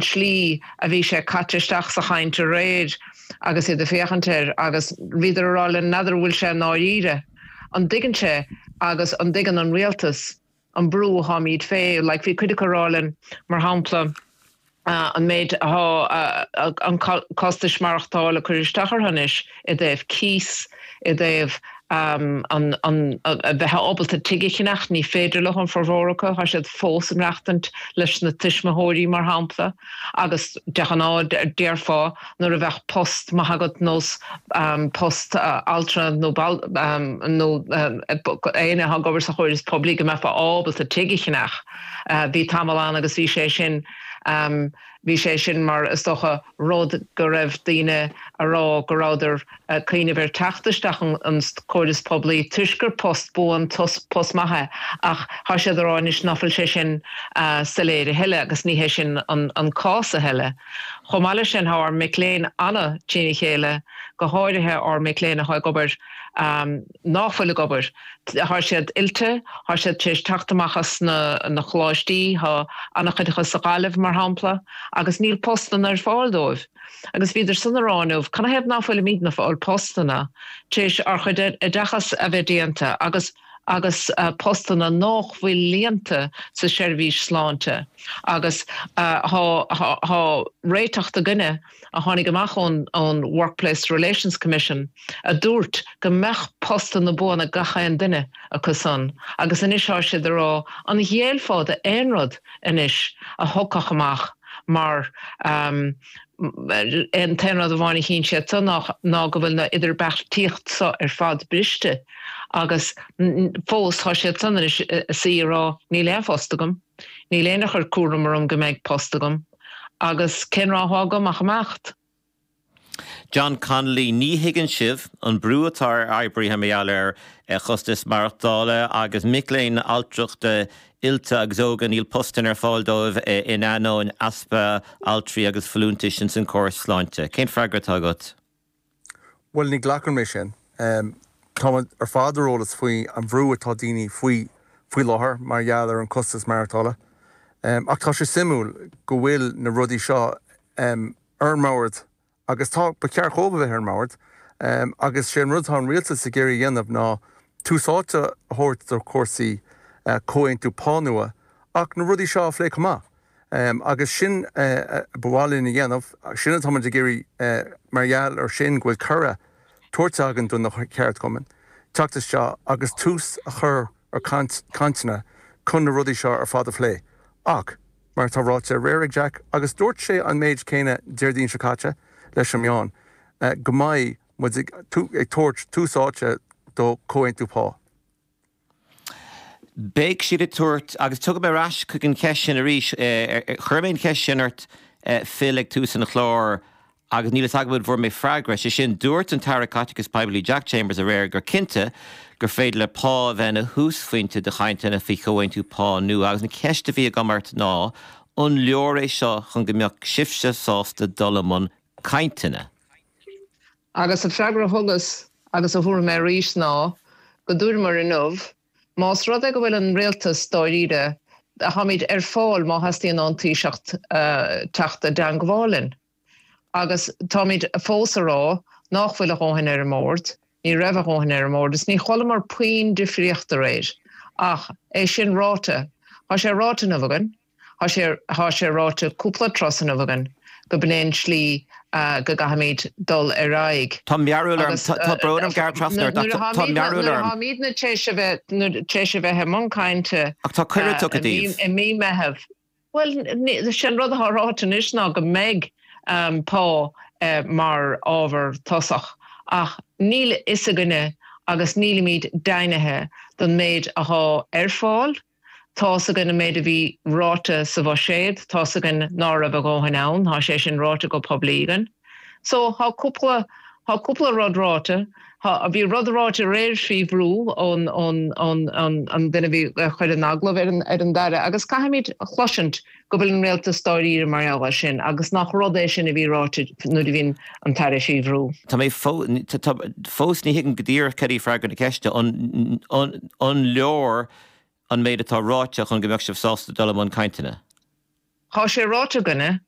tslí a bhí sé caite isteach sa chaint aréir agus iad ag féachaint air agus bhíodar ag rá linn, n'fheadar an bhfuil sé i ndáiríre, an dtuigeann sé agus an dtuigeann an rialtas an brú atáimid fé, like bhí cuid acu ag rá linn, mar shampla, an méid atá an costais maireachtála ag cur isteach orthu anois i dtaobh cíos, i dtaobh an a bheith ábalta tigh a cheannach, ní féidir leo, an formhór acu, tá siad fós ag maireachtaint leis na tuismitheoirí, mar shampla, agus de ghnáth déarfá nuair a bheadh post maith agat nós post altra nó nó éinne atá ag obair sa chóras poiblí go mbeifeá ábalta tigh a cheannach. Bhí tamall ann agus bhí sé sin bhí sé sin mar is dócha rud go raibh daoine a rá go rabhadar ag cuimhneamh ar teacht isteach an córas poiblí toisc gur post buan, post maith é ach tá siad a rá anois ná fuil sé sin soiléir a thuilleadh agus ní hé sin an cás a thuilleadh. Chomh maith leis sin tá ár mic léinn ana trína chéile, go háirithe ár mic léinn atá ag obair, ná fuil ag obair. Tá siad oilte, tá siad tar éis teacht amach as na coláistí, tá an-chuid acu sa Ghaillimh, mar shampla, agus níl postanna ar fáil dóibh. Agus bhíodar san ag rá inniu, canathaobh ná fuilimidne ag fáil postanna tar éis ár chuid oideachas a bheith déanta agus agus postanna nách bhfuil líonta sa seirbhís sláinte agus tá réiteach againne a tháinig amach ón ón Workplace Relations Commission a dúirt go mbeadh postanna buana ag gach aon duine acu san agus anois tá siad ag rá an ghéillfeá d'aon rud anois a thiocfadh amach mar an t-aon rud amháin a chíonn siad so ná go bhfuil na idirbheartaíocht so ar fad briste agus fós tá siad san anois ag suí ag rá níl aon phost agam, níl éinne a chuir cúram orm go mbeidh post agam agus cén rogha atá agam ach imeacht. John Connolly, Ní thuigeann sibh an brú atá ar oibrithe mar gheall ar chostas maireachtála agus mic léinn altrachta oilte agus óga, níl postanna ar fáil dóibh in ainneoin easpa altraí agus folúntais ins an córas sláinte. Cén freagra atá agat? Bhuel, ní ghlacann mé sin. Táimid ar fad ar eolas faoi an bhrú atá daoine faoi faoi láthair mar gheall ar an costas maireachtála. Ach tá sé suimiúil go bhfuil na rudaí seo ar an mbord agus tá, ba cheart dhóibh a bheith ar an mbord agus sé an rud atá an rialtas ag iarraidh a dhéanamh ná tús áite a thabhairt do chúrsaí comhaontú pá nua ach na rudaí seo a phlé chomh maith agus sin ba mhaith linn a dhéanamh, sin atá muid ag iarraidh mar gheall ar sin go bhfuil cuireadh tabhairt againn do na ceardchumainn teacht isteach agus tús a chur ar cainteanna chun na rudaí seo ar fad a phlé ach Mar atá ráite aréir ag Jack, agus dúirt sé an méid céanna Déardaoin seo caite leis an meáin, go mbeidh muid ag tabhairt tús áite do chomhaontú pá. Beidh siad ag tabhairt, agus tiocfaidh mé ar ais chuig an cheist sin arís, chuir mé an cheist sin ort Phil ag tús an chláir, Agus níl fhios agam an bhfuair mé freagra. Sé sin, dúirt an tAire Caiteachais Poiblí Jack Chambers aréir gur cinnte gur féidir le pá a bheith ina thúsphointe do chainteanna faoi chomhaontú pá nua. Agus an cheist a bhí agam ort ná, an leor é seo chun go mbeadh sibhse sásta dul i mbun cainteanna? Agus an freagra a thugas, agus a thabharfaidh mé arís ná go dúramar inniu, más rud é go bhfuil an rialtas dáiríre, táimid ar fáil má theastaíonn ón Taoiseach teacht i dteangmháil linn. Agus táimid fós a rá nách bhfuil a dhóthain ar an mbord, ní raibh a dhóthain ar an mbord is ní chualamar puinn difríocht aréir. Ach é sin ráite, tá sé ráite inniu againn, tá sé, tá sé ráite cúpla turas inniu againn go b'in é an tslí go gcaithfimid dul ar aghaidh. Tá mearbhall orm, tá brón orm gearradh trasna ort ach tá mearbhall orm. Nuair a tháimidne tar éis a bheith, tar éis a bheith i mbun cainte Ach tá cuireadh tugtha daoibh. i mí Meitheamh, Bhuel, sé an rud atá ráite anois ná go mbeidh pá mar ábhar tosach ach níl a fhios againne agus nílimid deimhnithe don méid athá ar fáil. Tá's againn an méid a bhí ráite sa bhuiséad, tá's againn ná raibh a dhóthain ann, tá sé sin ráite go poiblí againn. So, tá cúpla, tá cúpla rud ráite. Tá, bhí rud ráite aréir faoi bhrú ón, ón, ón, ón, an duine a bhí ag cur an agallamh ar an, ar an dAire agus caithfimid a chloisint go bhfuil an rialtas dáiríre mar gheall air sin agus nach rud é sin a bhí ráite nuair a bhí an tAire faoi bhrú. Tá mé fó, tá, fós ní thuigim go díreach cad í freagra na ceiste. An, an, an leor an méid atá ráite chun go mbeadh sibh sásta dul i mbun cainteanna? Tá sé ráite againne.